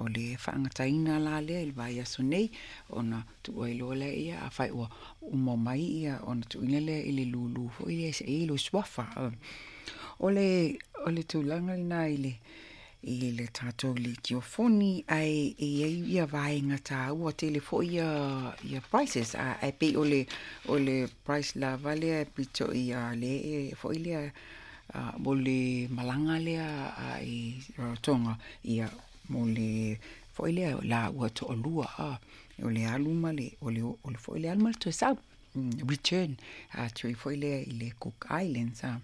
o le faagataina la lea i le vaiaso nei ona tuu ai loa lea ia afai ua uma mai ia ona tuuina lea i le lulu foi lea se i ai lou suafa. O le o le tulaga lena i le i le tatou litiofoni ae e i ai ia vaega taua tele foi ia ia prices a ae pei o le o le price lava lea e pito i a le e foi lea mo le malaga lea a i Rarotonga ia mo le foi lea laua toalua a o le alu ma le o le o le foi le alu ma le toe sau return atu foi lea i le Cook Islands a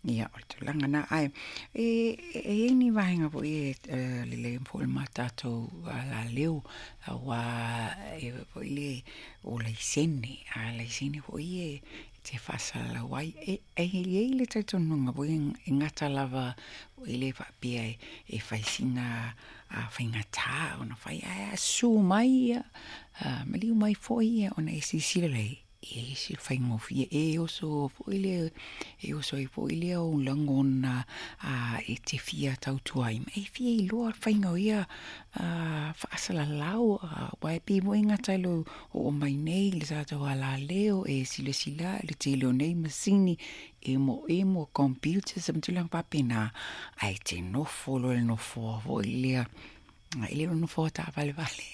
ia o le tulaga lena ae e e i ai ni vaega foi e lelei foi ma tatou alaleo aua e foi le o laisene a laisene foi e te faasalalau ai e e i ai le talitonuga foi e gata lava e le faapea e fai sina faigata ona fai ae susu mai ia maliu mai foi ia ona e silasila lea e ese le faigofie e oso foi lea e oso ai foi lea ou lagona e te fia tautua ai ma e fia iloa le faiga o ia faasalalau aua e pei foi e gata i lou oo mai nei le tatou alaleo e silasila i le tele o nei masini emoemo computers ma tulaga faapena ae te nofo loa i le nofoa foi lea e le o le nofoa taavalevale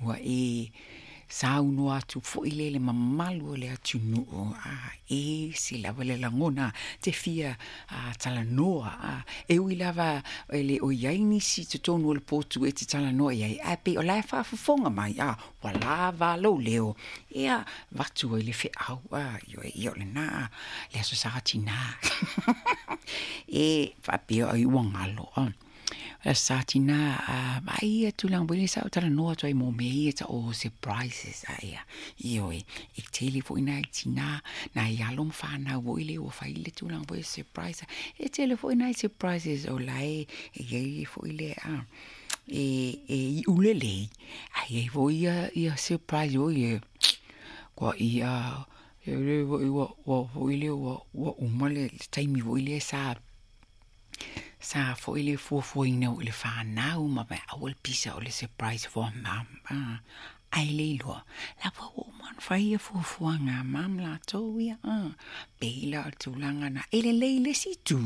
ua e saunoa atu foi lea i le mamalu o le atunuu a e ese lava le lagona te fia talanoa a e ui lava e le o i ai nisi i totonu o le potu e te talanoa i ai ae pei o la e faafofoga mai a ua lava lou leo ia avatu ai le feau a ioe ia o lena le Aso Sa Tinā e faapea ai ua galo a le Aso Sa Tinā a vaai ia tulaga foi lea sa ou talanoa atu ai mo mea ia e tau o surprises a ia ioe e tele foi nai tinā nai alo ma fanau foi lea ua fai le tulaga foi surprise e tele foi nai surprises o la e i ai foi lea a e e iu lelei ae i ai foi ia ia surprise foi e kua ia e le foi ua ua foi lea ua ua uma le taimi foi lea sa sa foi le fuafuaina i le fanau ma mea aua le pisa o le surprise for mum a ae le iloa la ua ua uma ona fai ia fuafuaga a mum latou ia a pei la o le tulaga na e lelei i le isi itu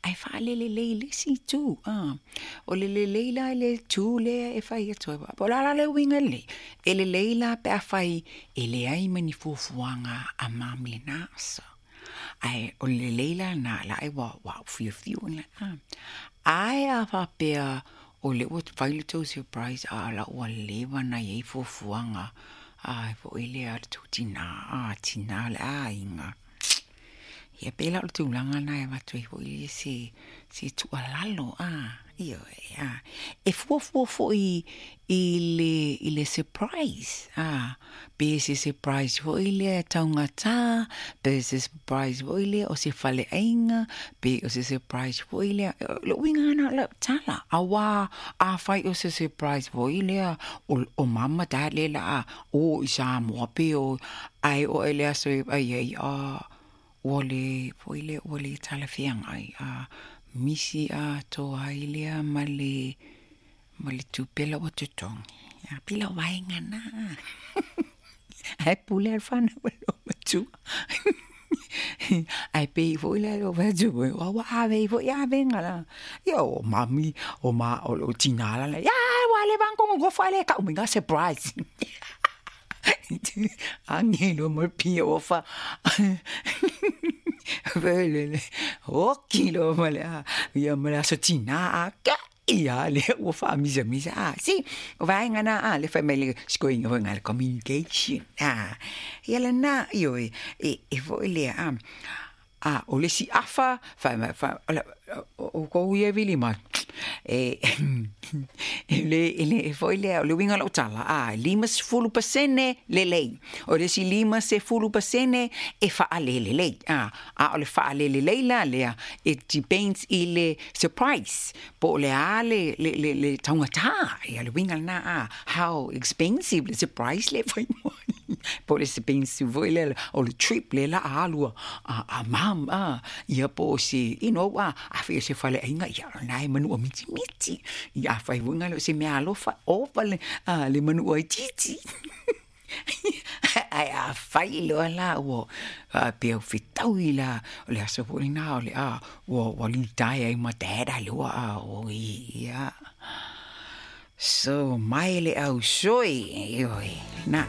ae faalelelei i le isi itu a o le lelei la i le itu lea e fai atu ai po o le a la le uiga lelei e lelei la pe afai e leai ma ni fuafuaga a mum i lena aso. Ae o le lelei la lena la e ua ua fiufiu ina a. Ae a faapea o lea ua fai le tou surprise a o la ua leva ona i ai fuafuaga a foi lea le tou tina a tina o le aiga. Ia pei la o le tulaga lena e avatu ai foi se se tuualalo a ioe a. E fuafua foi i le i le surprise a pe se surprise foi lea e taugata pe se surprise foi lea o se faleaiga pe o se surprise foi lea o le uiga lena o lau tala aua afai o se surprise foi lea o o mum ma dad lea o le a o i Samoa pe o ae oo i le aso e vaai ai a ua le foi lea ua le talafeagai a misi atoa ai lea ma le ma le tupe la ua totogi. A pei la o vaega na. Ae pule lava le fanau i lou matua. Ae pei foi la lou fai atu foi, ua ave ai foi avega la. Ia o mami, o ma o lou tina la, ia ua leva ona nonofo ae le tau mai na surprise. Age loa ma le pia ua fa Oki loa ma le a ia ma le aso tina a ia lea ua faamisamisa a si o vaega na a le fai mai le sikoiga foi le communication a ia lena ioe e e foi lea a a o le isi afa fai mai fai o kou ia e vili mai e e le e le foi lea o le uiga o lau tala a 50% lelei o le isi 50% e faalelelei a a o le faalelelei la lea it depends i le surprise po o le a le le le le taugata ia le uiga lena a how expensive le surprise le fai mai. Po o le expensive foi lea o le trip lea la a alu a mum a, ia po o se you know a, afai o se faleaiga, ia o lena e manua mitimiti. Ia afai foi na o se meaalofa, ova le, a, le manua itiiti. Ae afai loa la ua faapea ua fetaui la, o le aso foi lena o le a ua litaea ai ma dad a le ua a oi ia. So mai le ausoi, ioe, na.